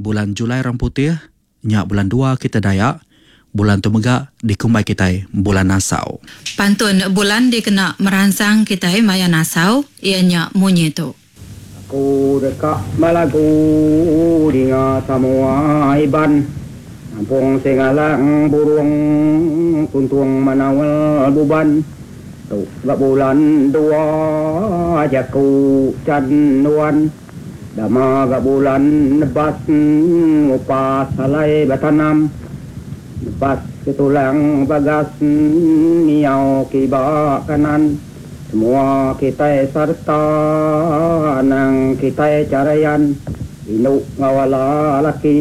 Bulan Julai orang putih, nya bulan dua kitai Dayak. Bulan tu mega dikumbai kitai bulan nasau. Pantun bulan dikena meransang kitai maya nasau iya nya munyi tu. Aku deka belagu dinga samoa Iban Nampung Singalang Burung Tuntung Menaul Buban Tu ga bulan dua jaku chan nuan Dama ga bulan nebas ngupas alai betanam Nebas ke tulang bagas miau kiba kanan. Semua kitai sereta anang kitai charayan indu enggau ala laki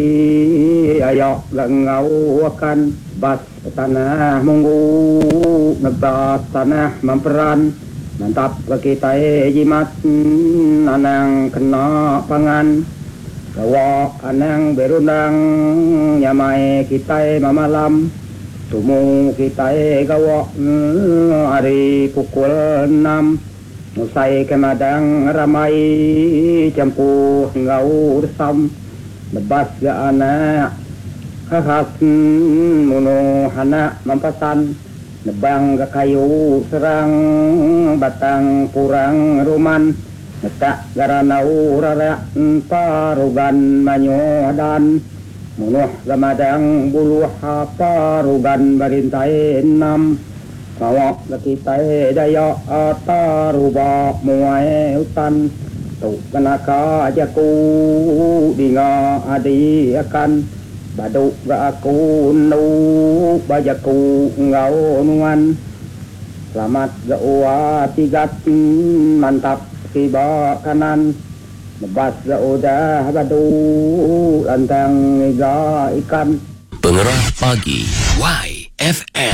aya ga enggau akan bas tanah munggu nebas tanah memperan mantap ga kitai jimat anang kena pangan gawa anang berundang nyamai kitai memalam. Tumu kitai gawa ari pukul enam ngusai ke madang rambai champuh enggau resam nebas ga anak khas munuh anak mempasan nebang ga kayu serang batang purang ruman netak ga ranau rarak parugan manyuh dan. Munuh ga madang buluh parugan berintai enam. Pengawa ga kitai Dayak taruba muai utan. Tu ga naka jaku dinga adi akan. Badu ga aku endu ba jaku enggau nuan. Selamat ga ua sigat mantap kiba kanan. Nebas ga udah badu lantang ngiga ikan. Pengerah Pagi. Y. FM.